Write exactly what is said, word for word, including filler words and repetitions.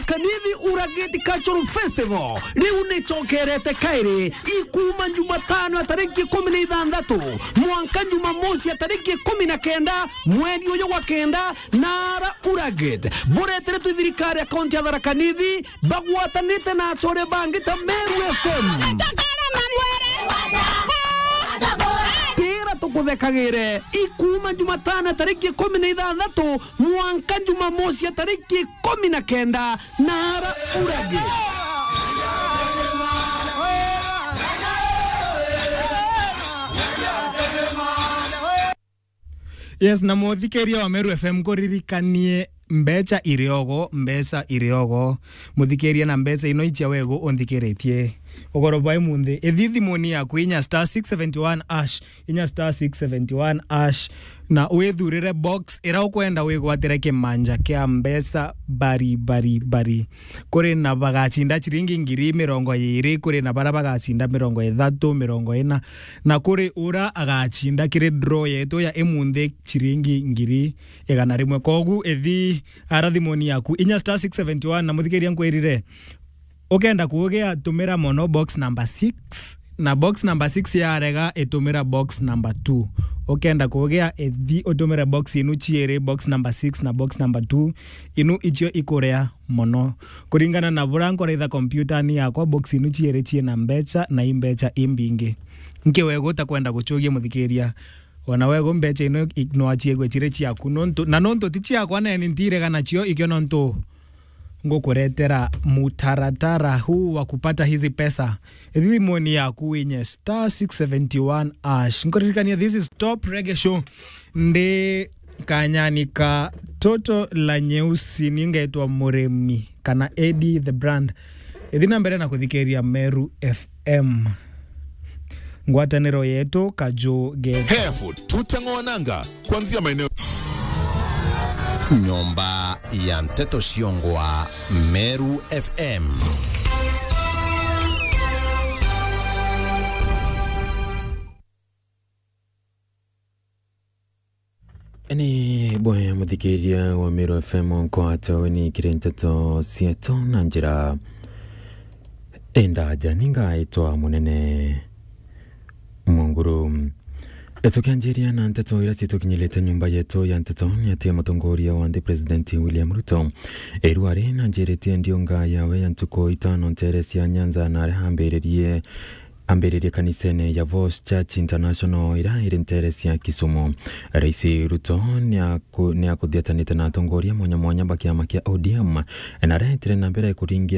Kanithi Uragate Cultural Festival riu nicokerete kairi, ikuuma Jumatano ya tariki ikumi na ithanthatu mwanka Jumamosi ya tariki ikumi na kenda mweri uyu gwa kenda, na ara Uragate bureteretwe i thirikari ya kaunti ya Tharaka Nithi bagwatanite na achore bangi ta Meru F M. Tira tukuthekagire, ikuuma Jumatano ya tariki ikumi na ithanthatu mwanka Jumamosi ya tariki ikumi na kenda, na ara Uragate. Yes, na muthikiria wa Meru F M, kuririkanie mbeca iriogo, mbeca iriogo. Muthikiria, na mbeca ino icia wegu unthikiritie ugoro bwa imunthi. Ithi thimuni yaku, inya star six seventy one hash, inya star six seventy one hash, na withurire box ira ukwenda wigwatire kimanja kia mbeca bari, bari, bari. Kuri na bagacinda ciringi ngiri mirongo iiri, kuri na bara bagacinda mirongo ithatu, mirongo ina, na kuri ura agacinda kiri draw yetu ya imunthi ciringi ngiri igana rimwe. Kogu ithi ara thimuni yaku, inya star six seventy one, na muthikiria nkwirire, ukenda kugia, tumira mono box number six, na box number six yarega, itumira box number two. Ukenda kugia, ithi utumire box inu ciiri, box number six na box number two, inu icio ikuria mono. Kuringana na bura nkoraitha kompyutani yakwa, box inu ciiri ciina mbeca, na i mbeca imbingi. Nki wegu utakwenda gucugia, muthikiria? Ona wegu mbeca ino i-, no aciegwe ciri ciaku, nontu, na nontu ti ciakwa, neni ntirega nacio, ikio nontu ngukuretera mutaratara huu wa kupata hizi pesa. Thimuni yaku winye star six seventy one hash. Nkuririkania, this is Top Reggae Show. Ndi kanyani ka toto la nyeusi, ni ngetwa Murimi, kana Eddie the Brand. Ithi na mbere na kuthikiria Meru F M. Ngwataniro yetu, Kaju Gate. Harefoot, tuteng'oa nanga kuanzia maeneo. Nyomba ya nteto ciongwa, Meru F M. Ni bwega muthikiria wa Meru F M, nkwata weni kiri nteto cietu na njira indaja. Ni ngaitwa Munene Munguru. Tukianjiria na nteto iria citukinyirite nyumba yetu ya nteto, ni ati mutongoria wa nthi President William Ruto iru ari na njiritie ndiunga yawe ya ntuku itano ntere cia Nyanza, na aria ambiririe ambiririe kanisene ya Voice Church International iria iri ntere cia Kisumu. Rais Ruto ni aku-, ni akuthiatanite na atongoria mwanya mwanya ba kiama kia O D M, na aretire na mbere kuringira